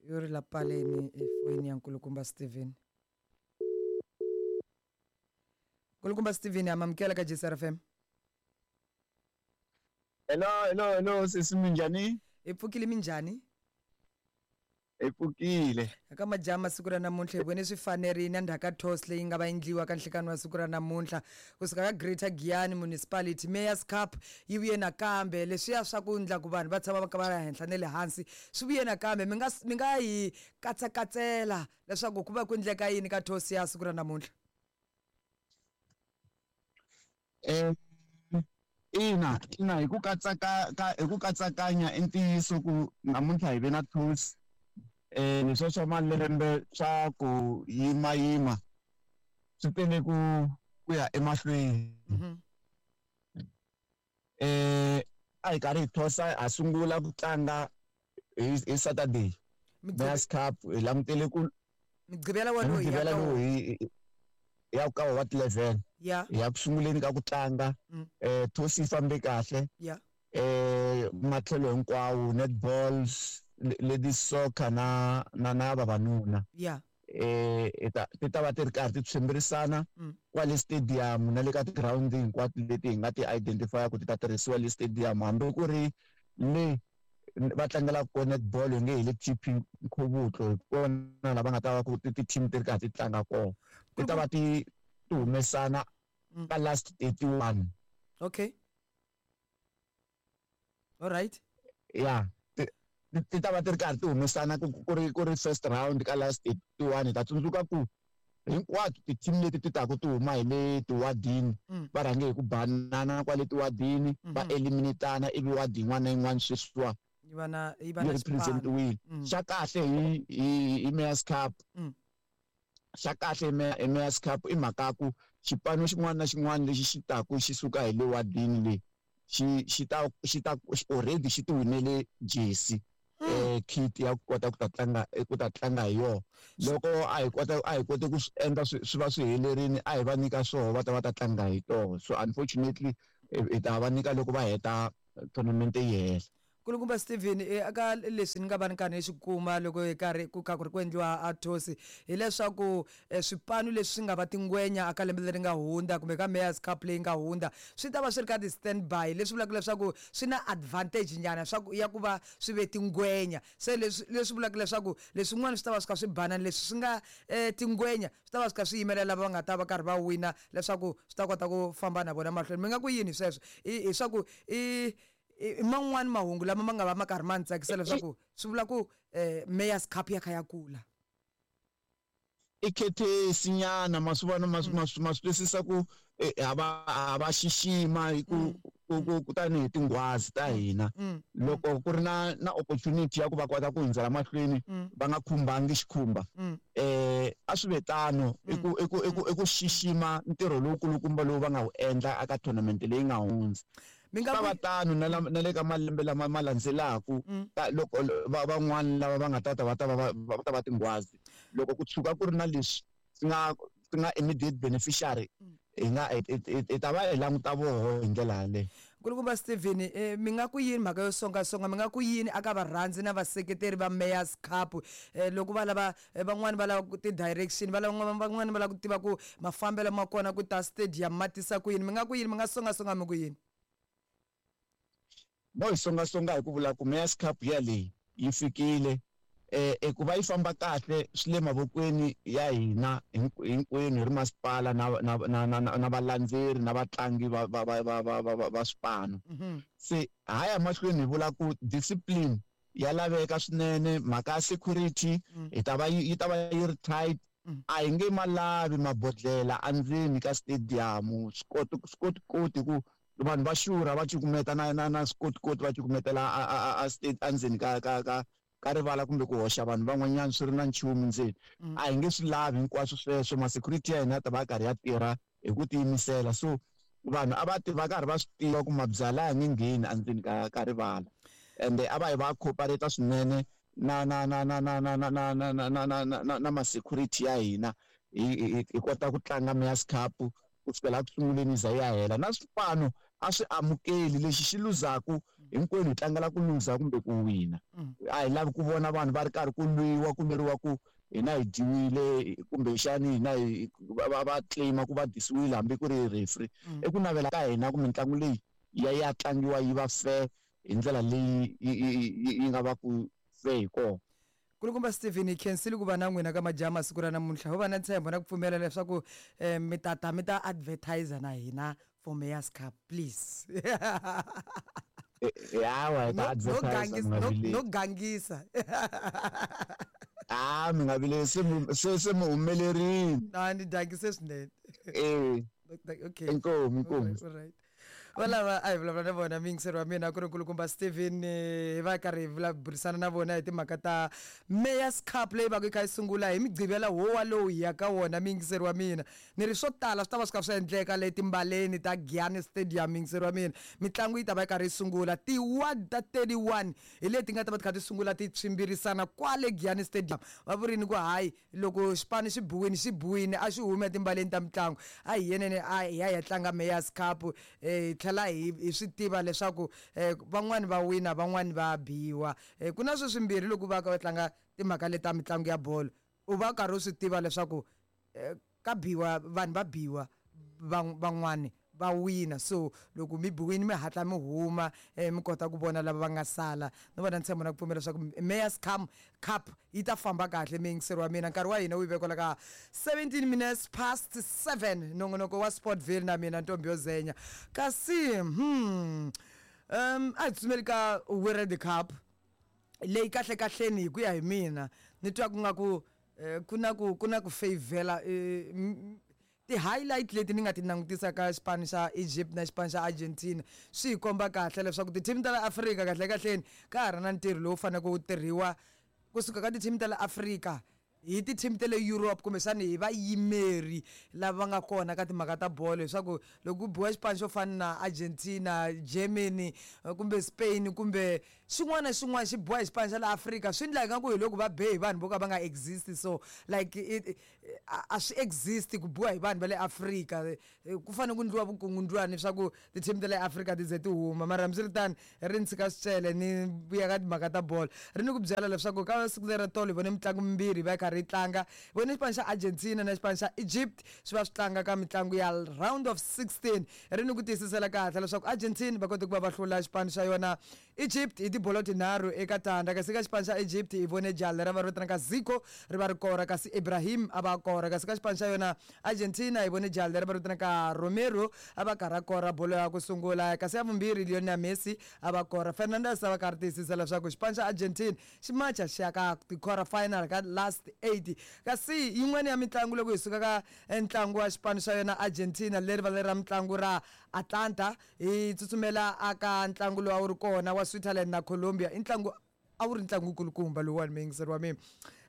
Yo ri la paleni efoyini ya Nkulukumba Steven. Nkulukumba Steven, amamukela ka JCRFM. Hello, hello, hello, sesi, minjhani? Hi pfukile, minjhani? Hi pfukile. Aka majama siku ra namuntlha hi vone swi fanerile endzhaku ka toss leyi nga va endliwa ka nhlikani wa siku ra namuntlha kusuka ka Greater Giyani Municipality. Mayor's Cup yi vuye nakambe, leswiya swa ku ndla ku vanhu va tshama va ka va ri henhla na le hansi swi vuye nakambe. Mi nga hi katsakatsela leswaku ku va ku endleka yini ka toss ya siku ra namuntlha? Ina, hi ku katsaka ka hi ku katsakanya, i ntiyiso ku namuntlha hi ve na toss. Leswiya swa malembe swa ku yimayima swi tele ku ya emahlweni. A hi karhi hi thosa, ha sungula ku tlanga hi Saturday Mayor's Cup, hi langutele ku Mugqivela wolowo hi ya Mugqivela ka lowu hi ya ka wa 11 hi ya ku sunguleni ka ku tlanga. Toss yi fambe kahle matlhelo hinkwawo, netball, ladies soccer na vavanuna. Ti ta va ti ri karhi ti tshwimbirisana kwale stadium na le ka ti-ground hinkwato leti hi nga ti identify ku ti ta tirhisiwa le stadium, hambi ku ri le va tlangelaka kona netball, hi nge hi le TP Nkhuvutlo, hi kona lava nga ta va ku ti-team ti ri karhi ti tlanga kona. Ti ta va ti humesana ka last 31. Okay, all right. Ya, ti ta va ti ri karhi ti humesana ku ri first round ka last 31. Hi ta tsundzuka ku hinkwato ti-team leti ti taku ti huma hi le tiwadini va rhange hi ku banana kwale tiwadini, va eliminatana, ivi wadi yin'wana na yin'wana sweswiwa yi va na yi va yi na xipano. Representiwile. Xa kahle hi Mayor's Cup, xa kahle hi Mayor's Cup i mhaka ya ku xipano xin'wana na xin'wana lexi xi taku xi suka hi le wadini leyi xi ta already xi ti winele jersey, kit ya ku kota ku ta tlanga hi yona. Loko a hi kota, a hi kote ku swi endla swi va swi helerini, a hi va nyika swoho va ta va ta tlanga hi toho. So unfortunately hi ta va nyika loko va heta tournament yi hela. Nkulukumba Steven, aka leswi ni nga va ni karhi ni swi kuma loko hi karhi ku kha ku ri ku endliwa a toss, hileswaku swipanu leswi swi nga va tingwenya aka lembe leri nga hundza kumbe ka Mayor's Cup leyi nga hundza swi ta va swi ri ka ti-stand by, leswi vulaka leswaku swi na advantage nyana swa ku ya ku va swi ve tingwenya. Se leswi vulaka leswaku leswin'wana swi ta va swi kha swi banana, leswi swi nga tingwenya swi ta va swi kha swi yimela lava va nga ta va karhi va wina leswaku swi ta kota ku famba na vona mahlweni. Mi nga ku yini sweswo? I swa ku i man'wani mahungu lama ma nga va ma karhi ma ni tsakisa leswaku swi vula ku Mayor's Cup ya kha ya kula. I courtesy nyana, ma swi vona, ma swi twisisa ku ha va xixima hi ku tanihi tinghwazi ta hina. Loko ku ri na opportunity ya ku va kota ku hundzela mahlweni va nga khumbangi xikhumba, a swi ve tano. I ku xixima ntirho lowukulukumba lowu va nga wu endla aka tournament leyi nga hundza. Mi nga Ta va tano na le ka malembe lama ma landzelaku, ka loko van'wani lava va nga ta ta va ta va va ta va tinghwazi, loko ku tshuka ku ri na leswi swi nga immediate beneficiary, hi nga hi ta va hi languta voho hi ndlela yaleyo. Nkulukumba Steven, mi nga ku yini mhaka yo songasonga? Mi nga ku yini aka varhandzi na vaseketeri va Mayor's Cup loko va lava, van'wani va lava ku ti-direction, va lava, van'wani va lava ku tiva ku mafambelo ma kona ku ta stadium ma tisa ku yini? Mi nga ku yini? Mi nga songasonga mi ku yini? Mo hi songasonga hi ku vula ku Mayor's Cup ya leyi yi fikile. Ku va yi famba kahle swi le mavokweni ya hina hinkwenu hi ri masipala na valandzeri na vatlangi va swipano. Se ha ya mahlweni hi vula ku discipline ya laveka swinene. Mhaka ya security hi ta va yi ta va yi ri tight. A hi nge ma lavi mabodhlela endzeni ka stadium, swikotikoti, ku vanhu va xurha va cukumeta na swikotikoti, va cukumetela a state endzeni ka rivala kumbe ku hoxa vanhu van'wanyana swi ri na nchumu ndzeni. A hi nge swi lavi hinkwaswo sweswo. Ma-security ya hina ya ta va ya karhi ya tirha hi ku tiyimisela, so vanhu a va ti va karhi va swi tiva ku mabyala ya nge ngheni endzeni ka rivala, ende a va yi va cooperate swinene na ma-security ya hina, hi kota ku tlanga Mayor's Cup ku sukela ku sunguleni yi za yi ya hela. Na swipano a swi amukeli lexi xi luzaku. Hinkwenu hi tlangela ku luza kumbe ku wina. A hi lavi ku vona vanhu va ri karhi ku lwiwa ku lweriwa ku hina hi dyiwile kumbexani hina hi va claim-a ku va dyisiwile hambi ku ri referee. I ku navela ka hina ku mitlangu leyi ya tlangiwa yi va fair hi ndlela leyi yi nga va ku fair hi kona. Kulukumba Stephen, hi khensile ku va na n'wina ka majaha masiku ra namuntlha. Ho va na ntshembo na ku pfumela leswaku mi ta ta mi ta advertiser na hina for Mayor's Cup, please. Hawa, hi ta advertise, mi nga vileli. No gangisa. Ah, mi nga vileli, se mi humelerile. Na ni gangise swinene. Okay. Inkomu, inkomu. All right. Valava a hi vulavula na vona muyingiseri wa mina ku ri nkulukumba Stephen, hi va karhi hi burisana na vona hi timhaka ta Mayor's Cup leyi va ku yi kha yi sungula hi Mugqivela wo walowu hi ya ka wona muyingiseri wa mina. Ni ri swo tala swi ta va swi kha swi endleka le timbaleni ta Giyani Stadium muyingiseri wa mina. Mitlangu yi ta va yi karhi yi sungula ti-ward ta 31 hi leti nga ta va ti kha ti sungula ti tshwimbirisana kwale Giyani Stadium. Va vurini ku hayi loko xipano xi biwini xi biwini a xi humi etimbaleni ta mitlangu, a hi yeneni a hi ya hi ya tlanga Mayor's Cup, hi tlhela hi swi tiva leswaku van'wani va wina van'wani va biwa. Ku na sweswi swimbirhi loko va ka va tlanga timhaka leta mitlangu ya bolo, u va karhi u swi tiva leswaku ka biwa vanhu va biwa van'wani va wina, so loko mi biwini mi hatla mi huma mi kota ku vona lava va nga sala. Ni vona ntshembo na ku pfumela leswaku Mayor's Cup yi ta famba kahle muyingiseri wa mina. Nkarhi wa hina wu yi vekwela ka 17 minutes past 7, nongonoko wa Sportville na mina Ntombi yo Zenya. Kasi a hi tsutsumeli ka World Cup leyi kahle kahleni hi ku ya hi mina ni twa ku nga ku ku na ku favela ti-highlight leti ni nga ti langutisa ka xipano xa Egypt na xipano xa Argentina swi hi komba kahle leswaku ti-team ta la Afrika kahle kahleni ka ha ri na ntirho lowu faneleke wu tirhiwa kusuka ka ti-team ta la Afrika hi ti-team ta le Europe kumbexani hi vayimeri lava va nga kona ka timhaka ta bolo, leswaku loko ku biwa xipano xo fana na Argentina, Germany kumbe Spain kumbe xin'wana na xin'wana xi biwa hi xipano xa la Afrika swi endla ingaku hi loko va be hi vanhu vo ka va nga exist. So like a swi exist ku biwa hi vanhu va le Afrika, ku fanele ku endliwa vukungundzwani leswaku ti-team ta le Afrika ti ze ti huma. Mara hambiswiritano ri ni tshika swicele ni vuya ka timhaka ta bolo, ri ni ku byela leswaku ka siku leri tolo hi vone mitlangu mimbirhi va yi karhi yi tlanga. Hi vone xipano xa Argentina na xipano xa Egypt swi va swi tlanga ka mitlangu ya round of 16. Ri ni ku tiyisisela kahle leswaku Argentina va kote ku va va hlula xipano xa yona Egypt hi tibolo tinharhu eka tandza. Kasi ka xipano xa Egypt hi vone jaha leri va ri vitanaka Zico ri va ri kora, kasi Ibrahim a va kora. Kasi ka xipano xa yona Argentina hi vone jaha leri va ri vitanaka Romero a va karhi a kora bolo ya ku sungula, kasi ya vumbirhi Lionel Messi a va kora. Fernandes a va karhi tiyisisa leswaku xipano xa Argentina xi macha xi ya ka ti-quarter final ka last 8. Kasi yin'wana ya mitlangu loko hi suka ka ntlangu wa xipano xa yona Argentina leri va leri ra mitlangu ra Atlanta, hi tsutsumela aka ntlangu lowu a wu ri kona wa Switzerland na Colombia. I ntlangu a wu ri ntlangu wukulukumba lowuwani muyingiseri wa mina.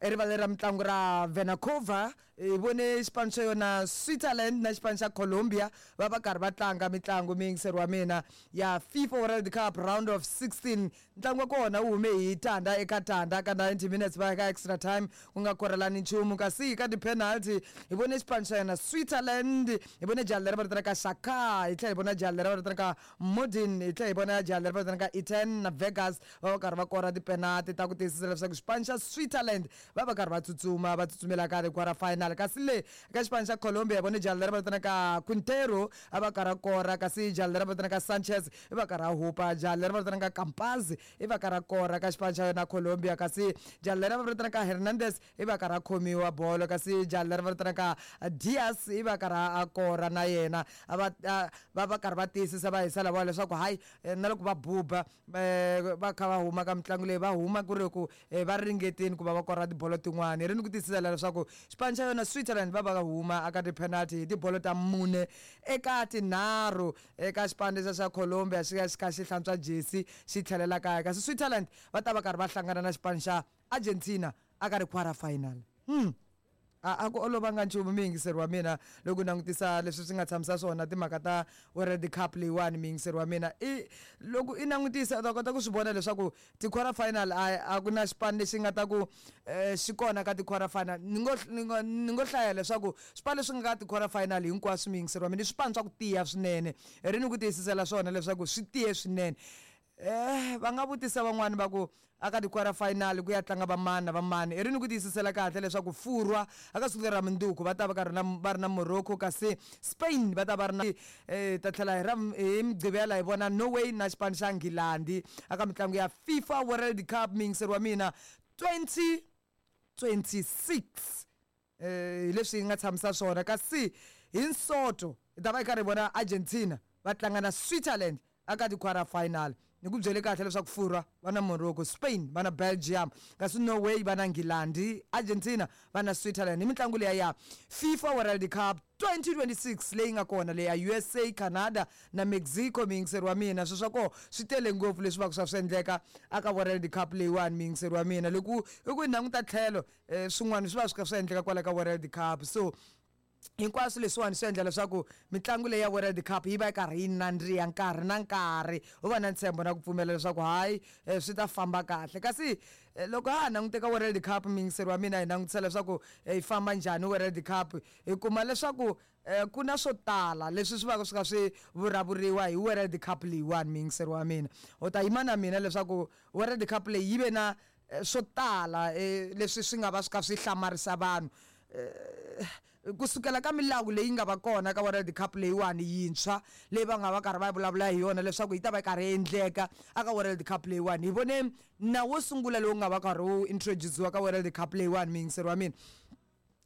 Erivaleni ra mitlangu ra Vancouver hi vone xipano xa yona Switzerland na xipano xa Colombia va va karhi va tlanga mitlangu muyingiseri wa mina ya FIFA World Cup round of 16. Ntlangu wa kona wu hume hi tandza eka tandza ka 90 minutes va ya ka extra time ku nga korelani nchumu. Kasi ka ti-penalty hi vone xipano xa yona Switzerland, hi vone jaha leri va vitanaka Xhaka, hi tlhela hi vona jaha leri va vitanaka Modin, hi tlhela hi vona jaha leri va vitanaka Eten na Vegas va va karhi va kora ti-penalty ta ku tiyisisa leswaku xipano xa Switzerland va va karhi va tsutsuma va tsutsumela ka ti-quarter final. Kasi le ka xipano xa Colombia hi vone jaha leri va vitanaka Quintero a va karhi a kora, kasi jaha leri va vitanaka Sanchez i va karhi a hupa. Jaha leri va vitanaka Campaz i va karhi a kora ka xipano xa yona Colombia, kasi jaha leri va vitanaka Hernandez i va karhi a khomiwa bolo, kasi jaha leri va vitanaka Diaz i va karhi a kora na yena. A va va karhi va tiyisisa va hisa lavawa leswaku hayi na loko va buba va kha va huma ka mitlangu leyi va huma ku ri ku va ringetini ku va va kora tibolo tin'wani. Ri ni ku tiyisisa leswaku xipano xa yona Switzerland va va huma aka ti-penalty hi tibolo ta 4 eka 3 eka xipano lexiya xa Colombia xi ya xi kha xi hlantswa jesi xi tlhelela kaya. Kasi Switzerland va ta va karhi va hlangana na xipano xa Argentina aka ri quarter final. A ku olovanga nchumu muyingiseri wa mina loko langutisa leswi swi nga tshamisa swona timhaka ta World Cup leyiwani muyingiseri wa mina. I loko i langutisa u ta kota ku swi vona leswaku ti-quarter final a ku na xipano lexi nga ta ku xi kona ka ti-quarter final. Ni ngo hlaya leswaku swipano leswi nga ka ti-quarter final hinkwaswo muyingiseri wa mina i swipano swa ku tiya swinene. Ri ni ku tiyisisela swona leswaku swi tiye swinene. Va nga vutisa van'wani va ku aka ti-quarter final ku ya tlanga vamani na vamani. I ri ni ku tiyisisela kahle leswaku Furwa aka siku leri ra mundzuku va ta va karhi na va ri na Morocco, kasi Spain va ta va ri na ta tlhela hi ra hi Mugqivela hi vona Norway na xipano xa Nghilandhi aka mitlangu ya FIFA World Cup, muyingiseri wa mina, 2026. Hi leswi hi nga tshamisa swona. Kasi hi Nsoto hi ta va hi karhi hi vona Argentina va tlanga na Switzerland aka ti-quarter final. Ni ku byele kahle leswaku Furwa va na Morocco, Spain va na Belgium, kasi Norway va na Nghilandhi, Argentina va na Switzerland. Hi mitlangu liya ya FIFA World Cup 2026 leyi nga kona leya USA, Canada na Mexico, muyingiseri wa mina. Swilo swa koho swi tele ngopfu leswi va ku swa swi endleka aka World Cup leyiwani, muyingiseri wa mina. Loko i ku yi languta tlhelo, swin'wana swi va swi kha swi endleka kwala ka World Cup. So hinkwaswo leswiwani swi endla leswaku mitlangu leyi ya World Cup yi va yi karhi yi nandziha nkarhi na nkarhi. U va na ntshembo na ku pfumela leswaku hayi, swi ta famba kahle. Kasi loko ha ha langute ka World Cup, muyingiseri wa mina, hi langutisa leswaku yi famba njhani World Cup, hi kuma leswaku ku na swo tala leswi swi va swi kha swi vulavuriwa hi World Cup leyiwani, muyingiseri wa mina. U ta yima na mina leswaku World Cup leyi yi ve na swo tala leswi swi nga va swi kha swi hlamarisa vanhu, kusukela ka milawu leyi nga va kona ka World Cup leyiwani yintshwa leyi va nga va karhi va vulavula hi yona leswaku yi ta va yi karhi yi endleka aka World Cup leyiwani. Hi vone nawu wo sungula lowu nga va karhi wu introduce-iwa ka World Cup leyiwani, muyingiseri wa mina,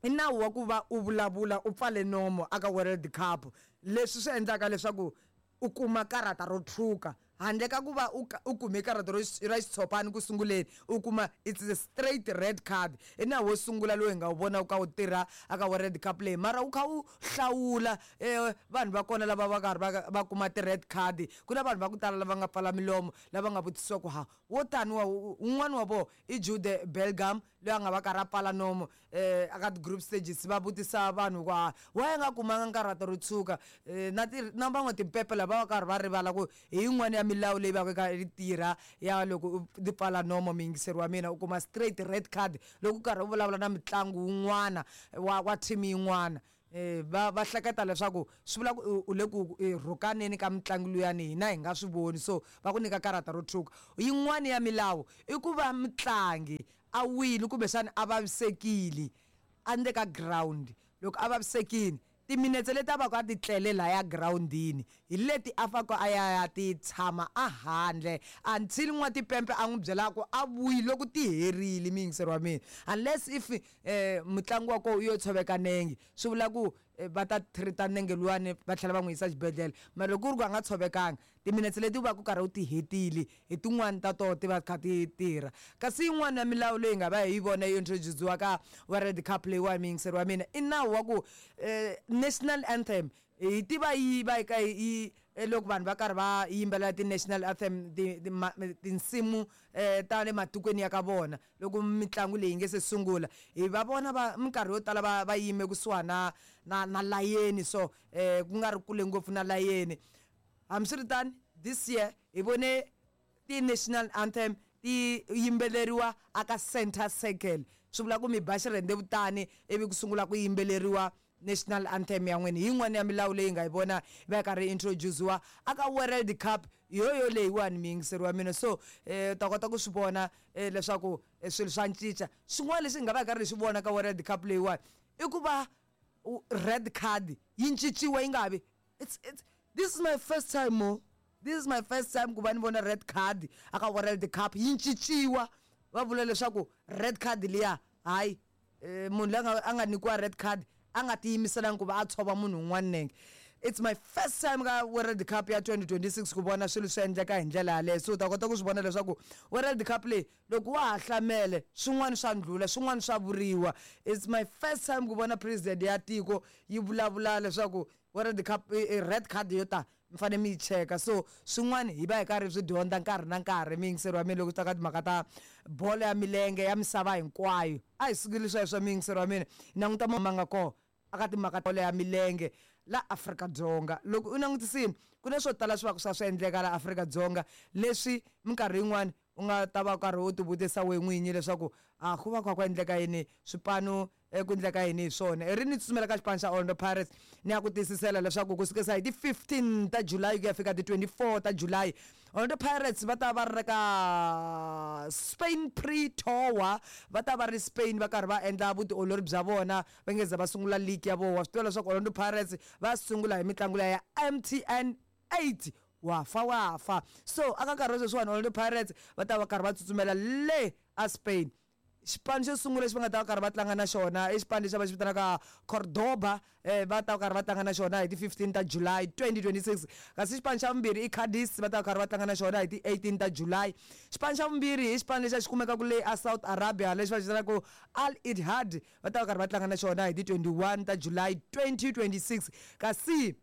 i nawu wa ku va u vulavula u pfale nomo aka World Cup, leswi swi endlaka leswaku u kuma karata ro tshuka handle ka ku va u kume karata ro ra xitshopani ku sunguleni, u kuma it's a straight red card. I nawu wo sungula lowu hi nga wu vona wu ka wu tirha aka World Cup leyi, mara wu kha wu hlawula vanhu va kona lava va karhi va va kuma ti-red card. Ku na vanhu va ku tala lava nga pfala milomo lava nga vutisiwa ku ha wo tani wa wun'wani wa vona i Jude Bellingham loyi a nga va karhi a pfala nomo aka ti-group stages. Va vutisa vanhu ku ha why a nga kumanga karata ro tshuka, na ti na van'we timpepe lava va karhi va rivala ku hi yin'wana ya milawu leyi va ka yi tirha ya loko u ti pfala nomo, muyingiseri wa mina, u kuma straight red card loko u karhi u vulavula na mitlangu wun'wana wa team yin'wana. Va hleketa leswaku swi vula ku u le ku rhukaneni ka mitlangu luyani, hina hi nga swi voni, so va ku nyika karata ro tshuka. Yin'wani ya milawu i ku va mutlangi a wile kumbexana a vavisekile andle ka ground. Loko a vavisekile, timinetse leti a va ku a ti tlele laya girawundini hi leti a faneke a ya ya ti tshama a handle until n'watipempe a n'wi byelaka ku a vuyi loko ti herile, muyingiseri wa mina. Unless if mutlangi wa kona u yo tshoveka nenge, swi vula ku va ta treat-a nenge luwani va tlhela va n'wi yisa xibedhlele. Mara loko ku ri ku a nga tshovekanga, timinetse leti u va ku karhi u ti hetile hi tin'wani ta toho ti va kha ti tirha. Kasi yin'wana ya milawu leyi nga va hi yi vona yi introduce-iwa ka World Cup leyiwani, muyingiseri wa mina, i nawu wa ku national anthem hi tiva yi va yi ka yi loko vanhu va karhi va yimbelela ti-national anthem, tinsimu ta le matikweni ya ka vona, loko mitlangu leyi nge se sungula, hi va vona va minkarhi yo tala va yime kusuhana na layeni, so ku nga ri kule ngopfu na layeni. Hambiswiritano, this year hi vone ti-national anthem ti yimbeleriwa aka center circle. Swi vula ku mi ba xirhendzevutani ivi ku sungula ku yimbeleriwa national anthem ya n'wina. Hi yin'wana ya milawu leyi nga yi vona va yi karhi yi introduce-iwa aka World Cup yoyo leyiwani, muyingiseri wa mina. So ta kota ku swi vona leswaku swilo swa cinca. Xin'wana lexi hi nga va hi karhi hi xi vona ka World Cup leyiwani i ku va red card yi cinciwa yi nga vi it's this is my first time mo this is my first time ku va ni vona red card aka World Cup yi cinciwa. Va vula leswaku red card liya hayi, munhu loyi a nga nyikiwa red card a nga tiyimiselanga ku va a tshova munhu un'wana nenge. It's my first time ka World Cup ya 2026 ku vona swilo swi endleka hi ndlela yaleyo. So u ta kota ku swi vona leswaku World Cup leyi, loko wa ha hlamele, swin'wana swa ndlhula, swin'wana swa vuriwa. It's my first time ku vona president ya tiko yi vulavula leswaku World Cup red card yo ta mi fanele mi yi cheka. So swin'wana hi va hi karhi swi dyondza nkarhi na nkarhi, muyingiseri wa mina, loko swi ta ka timhaka ta bolo ya milenge ya misava hinkwayo. A hi sukeli sweswo, muyingiseri wa mina, hi languta ma nga kona aka timhaka bolo ya milenge la Afrika-Dzonga. Loko u langutisile, ku na swo tala swi va ku swa swi endleka la Afrika-Dzonga leswi minkarhi yin'wani u nga ta va karhi u tivutisa we n'winyi leswaku a ku va kha ku endleka yini, swipano ku endleka yini hi swona. I ri ni tsutsumela ka xipano xa Orlando Pirates ni ya ku tiyisisela leswaku ku sukisa hi ti 15 ta July ku ya fika ti 24 ta July. Orlando Pirates va ta va ri ka Spain pre-tour, va ta va ri Spain va karhi va endla vutiolori bya vona va nge za va sungula league ya vona. Wa swi tiva leswaku Orlando Pirates va sungula hi mitlangu liya ya MTN 8, wa fa wa fa. So aka nkarhi wa sweswiwani Orlando Pirates va ta va karhi va tsutsumela le a Spain. Xipano xo sungula lexi va nga ta va karhi va tlanga na xona i xipano lexi va xi vitanaka Cordoba, va ta va karhi va tlanga na xona hi ti 15 ta July 2026. Kasi xipano xa vumbirhi i Cadiz, va ta va karhi va tlanga na xona hi ti 18 ta July. Xipano xa vumbirhi i xipano lexi a xi kumekaka le a South Arabia lexi va xi vitanaka Al Ittihad, va ta va karhi va tlanga na xona hi ti 21 ta July 2026. Kasi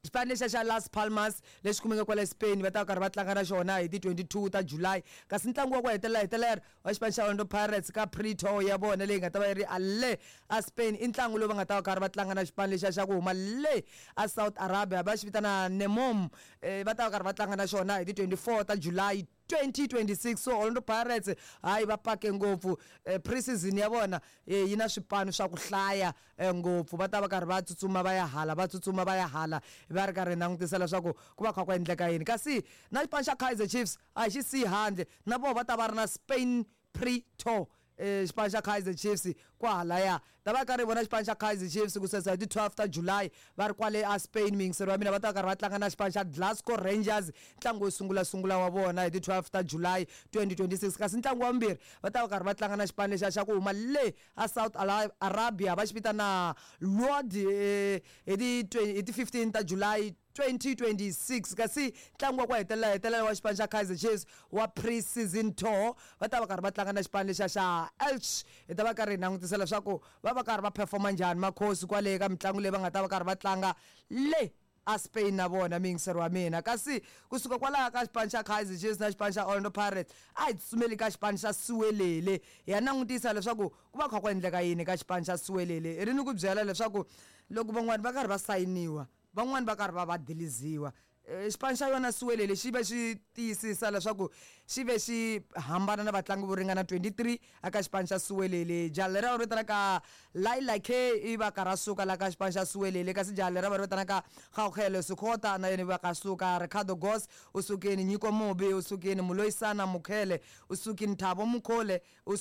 xipano lexiya xa Las Palmas lexi kumeka kwale Spain va ta va karhi va tlanga na xona hi ti 22 ta July. Kasi ntlangu wa ku hetelela hetelela wa xipano xa Orlando Pirates ka pre-tour ya vona leyi nga ta va yi ri a le a Spain i ntlangu lowu va nga ta va karhi va tlanga na xipano lexiya xa ku huma le a South Arabia va xi vitana Nemom, va ta va karhi va tlanga na xona hi ti 24 ta July 2026. So Orlando Pirates hayi va pake ngopfu, pre-season ya vona yi na swipano swa ku hlaya ngopfu, va ta va karhi va tsutsuma va ya hala, va tsutsuma va ya hala, va ri karhi langutisa leswaku ku va kha ku endleka yini. Kasi na xipano xa Kaizer Chiefs a hi xi siyi handle, na vona va ta va ri na Spain pre-tour. Xipano xa Kaizer Chiefs kwahalaya ta va karhi vona xipano xa Kaizer Chiefs ku sesa hi ti 12 ta July va ri kwale a Spain. Miyingiseri wa mina, va ta karhi va tlanga na xipano xa Glasgow Rangers, ntlangu wo sungula sungula wa vona hi ti 12 ta July 2026. Kasi ntlangu wa vumbirhi va ta va karhi va tlanga na xipano lexiya xa ku huma le a South Arabia va xi vitana Lord, hi ti 15 ta July 2026. Kasi ntlangu wa ku hetelela hetelela wa xipano xa Kaizer Chiefs wa pre-season tour va ta va karhi va tlanga na xipano lexiya xa Elche. Hi ta va karhi hi langutisa leswaku va va karhi va performa njhani makhosi kwale ka mitlangu leyi va nga ta va karhi va tlanga le a Spain na vona, miyingiseri wa mina. Kasi kusuka kwalaho ka xipano xa Kaizer Chiefs na xipano xa Orlando Pirates a hi tsutsumeli ka xipano xa Siwelele, hi ya langutisa leswaku ku va kha ku endleka yini ka xipano xa Siwelele. Hi ri ni ku byela leswaku loko van'wani va karhi va sayiniwa, van'wani va karhi va va diliziwa. Xipano xa yona Siwelele xi ve xi tiyisisa leswaku xi ve xi hambana na vatlangi vo ringana 23 aka xipano xa Siwelele. Jaha leri va ri vitanaka Laila K i va karhi a suka la ka xipano xa Siwelele, kasi jaha leri va ri vitanaka Gauhelo Sikhota na yena va ka suka, Ricardo Goss u sukini, Nyiko Mobi u sukini, Muloyisana Mukhele u sukini, Thabo Mukhole u.